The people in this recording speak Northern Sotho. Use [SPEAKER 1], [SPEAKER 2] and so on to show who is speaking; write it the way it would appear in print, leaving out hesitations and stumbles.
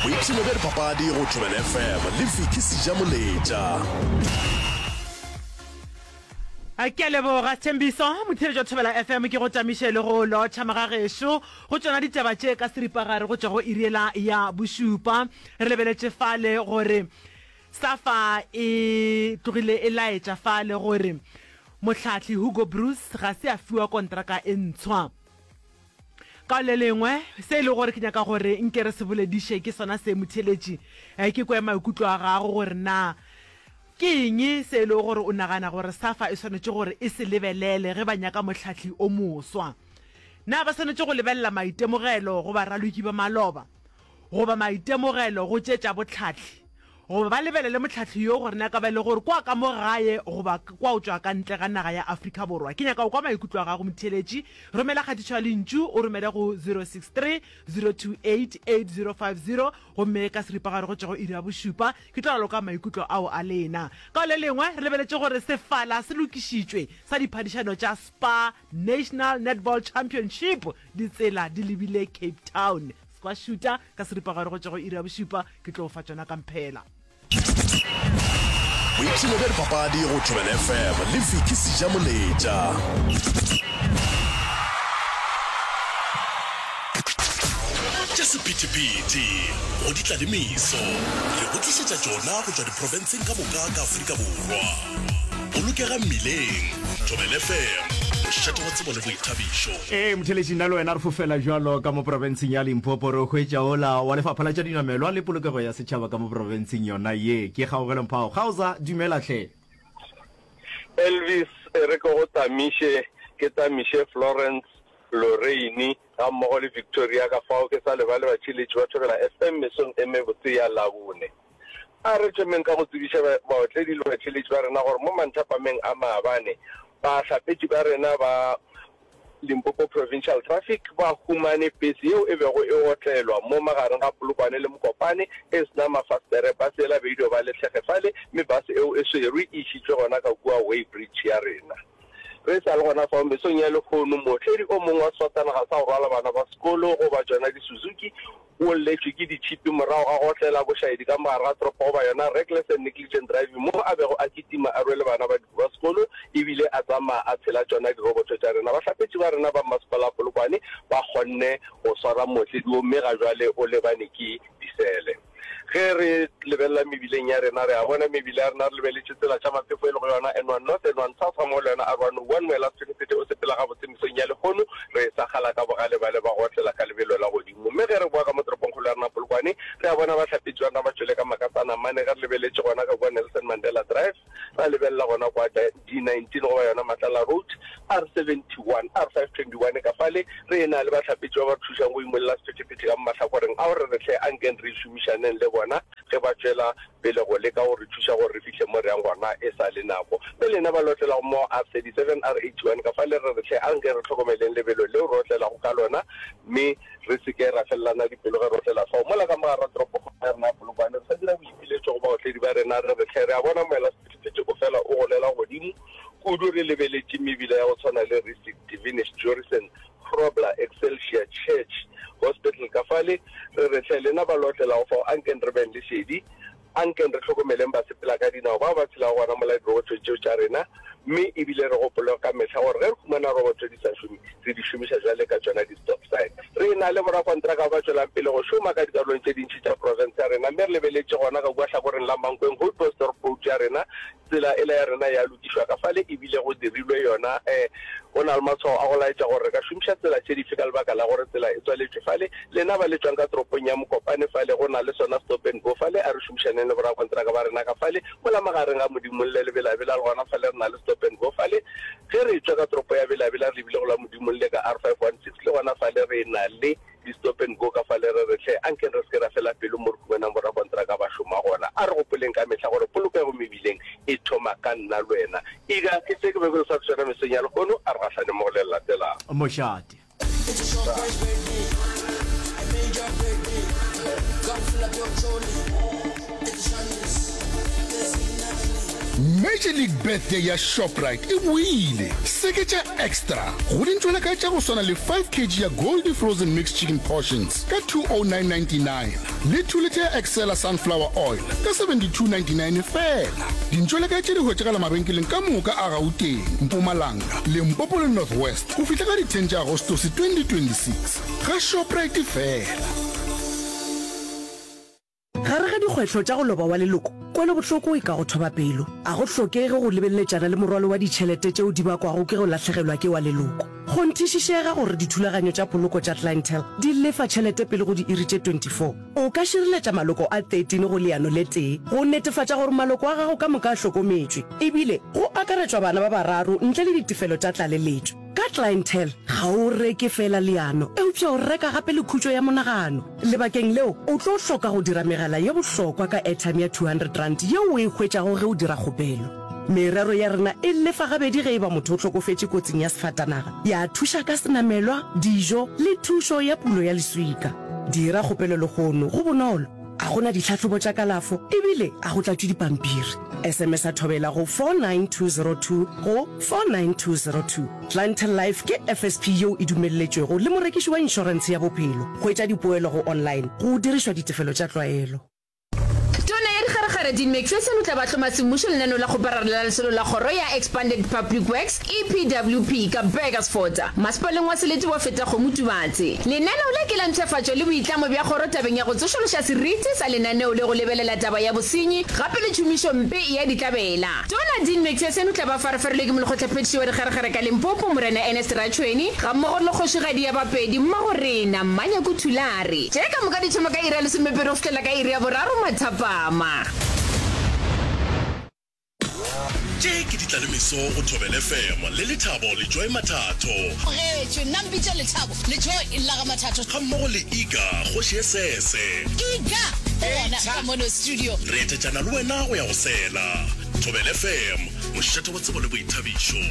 [SPEAKER 1] Boipshino bja dipapadi go Thobela FM le Vicky Sejamoletša.
[SPEAKER 2] Ke a leboga Thembiso, motheeletši wa Thobela FM, ke go tamiše le go lotšha magagešo go tšona ditaba tše ka seripagare go tšwa go iri yela ya bošupa. Re lebeletše fale gore SAFA e tlogile e laetša fale gore mohlahli Hugo Broos ga se a fiwa kontraka e ntshwa. Ka le lengwe, se e lego gore ke nyaka gore nke re se bolediše ke sona se, motheeletši, ke kwe maikutlo a gago gore na ke eng se e lego gore o nagana gore SAFA e swanetše gore e se lebelele ge ba nyaka mohlahli o moswa. Na ba swanetše go lebelela maitemogelo go baraloki ba maloba, goba maitemogelo go tše tša bohlahli, goba ba lebelele mohlahli yo gore na ka ba e le gore kwa ka mo gae goba kwa o tšwa ka ntle ga naga ya Afrika Borwa? Ke nyaka go kwa maikutlo a gago motheeletši. Romela kgatišo ya lentšu o romele go 063 028 8050 gomme ka seripagare go tšwa go iri ya bošupa ke tlo raloka maikutlo ao a lena. Ka le lengwe re lebeletše gore sefala se lokišitšwe sa diphadišano tša Spar National Netball Championship ditsela di lebile Cape Town. Squash-šuta ka seripagare go tšwa go iri ya bošupa ke tlo fa tšona ka mphela.
[SPEAKER 1] Boipshino bja dipapadi go Thobela FM le Vicky Sejamoletša. Tša sephethephethe go di tla le meso, re go tlišetša tšona go tšwa diprofenseng ka moka ka Afrika Borwa. Bolokega mmileng, Thobela FM, mošate wa tsebo le boithabišo.
[SPEAKER 3] Ee, motheeletši, nna le wena re fofela bjalo ka mo profenseng ya Limpopo re hwetša ola wa Lefapha la tša Dinamelwa le Polokego ya Setšhaba ka mo profenseng yona ye. Ke Kgaogelo Mphao. Kgaoza, dumela hle.
[SPEAKER 4] Elvis, E re ke go tamiše, ke tamiše Florence, Lorraine gammogo le Victoria ka fao ke sa lebale batšhiletši ba Thobela FM mesong e mebotse ya Labone. A re thomeng ka go tsebiša baotledi le batheeletši ba rena gore mo manthapameng a maabane, bahlapetši ba rena ba Limpopo Provincial Traffic ba humane pese yeo e bego e otlelwa mo magareng ga Polokwane le Mokopane e se na mafastere. Pase yela be e dio ba le tlhege fale mme base eo e swerwe e išitšwe gona ka kua weighbridge ya rena. Re sa le gona fao mesong ya lehono, mootledi o mongwe wa sefatanaga sa go rwala bana ba sekolo goba tšona di-Suzuki O lletšwe ke ditšhipi morago ga go otlela bošaedi ka mogare ga toropo goba yona reckless and negligent driving moo a bego a kitima a rwele bana ba ba sekolo ebile a tsamaya a tshela tšona diroboto tša rena. Bahlapetši ba rena ba Mmasepala wa Polokwane ba kgonne go swara mootledi wo mme ga jwale o lebane ke disele. Ge re lebelela mebileng ya rena re a bona mebila ya rena re lebeletše tsela tša maphefo e lego yona N1 North, N1 South gammogo le yona R101 moela sephethephethe o sepela gabotse mesong ya lehono re sa kgala ka bogale bale ba go otlela ka lebelo la godimo. Gomme ge re boa ka mo toropongkgolo ya rena Polokwane, re a bona bahlapetši ba rena ba tšwele ka makasana mane. Ge re lebeletše gona ka kua Nelson Mandela Drive, ra lebelela gona kwa D19 goba yona Matlala Road, R71, R521 ka fale, re e-na le bahlapetši ba ba re thušang go imolla sephethephethe ka mo mahlakoreng ao. Re re hle ankeng re šomišaneng le bona ge ba tšwela pele go leka go re thuša gore re fihle mo re yang gona e sa le nako. Mme lena ba le otlelago mo R37, R81 ka fale, re re hle anke re hlokomeleng lebelo leo re otlelago ka lona mme re se ke ra felelana dipelo ge re otlela fao. Mola ka mo gare ga toropokgolo ya rena ya Polokwane, re sa dira boipiletšo go baotledi ba rena re re hle re a bona moelasephethephethe o fela o golela godimo kudu re lebeletše mebila ya go tshwana le Rissik, Divinish, Jorissen, Grobler, Excelsior, Church, Hospital ka fale, re re hle lena ba le otlelago fao ankeng re beng le šedi, ankeng re hlokomeleng basepela ka dinao bao ba tshelago gona mola dirobotho tšeo tša rena, mme e bile re gopole ka mehla gore ge re humana robotho di sa šome, re di šomiša bjale ka tšona di-stop sign. Re na le borakontraka ba ba tšwelang pele go šoma ka dikarolong tše dintši tša profense ya rena, mme re lebeletše gona ka kua hlakoreng la Mankweng Houtbosdorp Road ya rena, Tsela ela ya rena ya lokišwa ka fale e bile go dirilwe yona. Go na le matshwao a go laetša gore re ka šomiša tsela tše dife ka lebaka la gore tsela e tswaletšwe fale. Lena ba le tšwang ka toropong ya Mokopane fale go na le sona stop and go fale, a re šomišaneng le borakontraka ba rena ka fale. Mola magareng ga Modimolle le Belabela le gona fale re na le stop and go fale. Ge re etšwa ka toropo ya Belabela re lebile go la Modimolle ka R516 le gona fale re na le Di stop and go ka fale re re hle ankeng re se ke ra fela pelo mo re humanang borakontraka ba šoma gona. A re gopoleng ka mehla gore polokego mebileng e thoma ka nna le wena. Ega ke se ke bego ke sa tsona mesong ya lehono, a re gahlane mo go le le latelago.
[SPEAKER 3] Mošate.
[SPEAKER 5] Major League Birthday ya Shoprite e boile! Seketša extra go dintšwelakae tša go swana le 5 kg ya Goldie Frozen Mixed Chicken Portions ka 209.99 le 2 litha ya Excella Sunflower Oil ka 72.99 feela. Dintšwelakae tše di hwetšagala mabenkeleng ka moka a Gauteng, Mpumalanga, Limpopo le North West go fihla ka di 10 tša Agostose 2026. Ga Shoprite feela.
[SPEAKER 6] Gare ga dikgwetlho tša go loba wa leloko, kwelobohloko e ka go thoba pelo. A go hlokege go lebeleletšana le morwalo wa ditšhelete tšeo di bakwago ke go lahlegelwa ke wa leloko. Kgonthišišega gore dithulaganyo tša poloko tša Clientele di lefa tšhelete pele go diiri tše 24. O ka šireletša maloko a 13 go leano le tee go netefatša gore maloko a gago ka moka a hlokometšwe, ebile go akaretšwa bana ba bararo ntle le ditefelo tša tlaleletšo. Ka Clientele, ga o reke feela leano, eupša o reka gape le khutšo ya monagano. Lebakeng leo, o tlo hloka go dira megala ye bohlokwa ka airtime ya R200 yeo o e hwetšago ge o dira kgopelo. Merero ya rena e lefa gabedi ge e ba motho o hlokofetše kotsing ya sefatanaga, ya thuša ka senamelwa, dijo le thušo ya pulo ya leswika. Dira kgopelo lehono, go bonolo, ga go na ditlhahlobo tša kalafo ebile ga go tlatšwe dipampiri. SMS-a Thobela go 49202 go 49202. Clientele Life ke FSP yeo e dumelletšwego le morekiši wa inšorentshe ya bophelo. Hwetša dipoelo go online go dirišwa ditefelo tša tlwaelo.
[SPEAKER 7] Tona ya Dikgarekgare Dean Macpherson o tla ba hloma semmušo lenaneo la kgoparara la lesolo la kgoro ya Expanded Public Works, EPWP, ka Burgersfort, masepaleng wa selete wa Fetakgomo Tubatse. Lenaneo le ke la mpshafatšo le boitlamo bja kgoro tabeng ya go tsošološa seriti sa lenaneo le go lebelela taba ya bosenyi gape le tšhomišompe ya ditlabela. Tona Dean Macpherson o tla ba farefarilwe ke Molekgotlaphethiši wa Dikgerekgere ka Limpopo, Morena Ernest Ratšhweni, gammogo le Kgošigadi ya Bapedi, Mmagorena, Mmanyaku Thulare. Tše ka moka di thoma ka iri ya lesomepedi go fihlela ka iri ya boraro mathapama.
[SPEAKER 1] Tše ke ditlalemeso go Thobela FM le Lethabo le Joy Mathatho.
[SPEAKER 8] Tlogetšwe, nna mpitše Lethabo le Joy la ga Mathatho.
[SPEAKER 1] Gammogo le Iga, kgoši ye sese.
[SPEAKER 8] Iga o gona ka mono studio.
[SPEAKER 1] Re etetšana le wena go ya go sela. Thobela FM, mošate wa tsebo le boithabišo.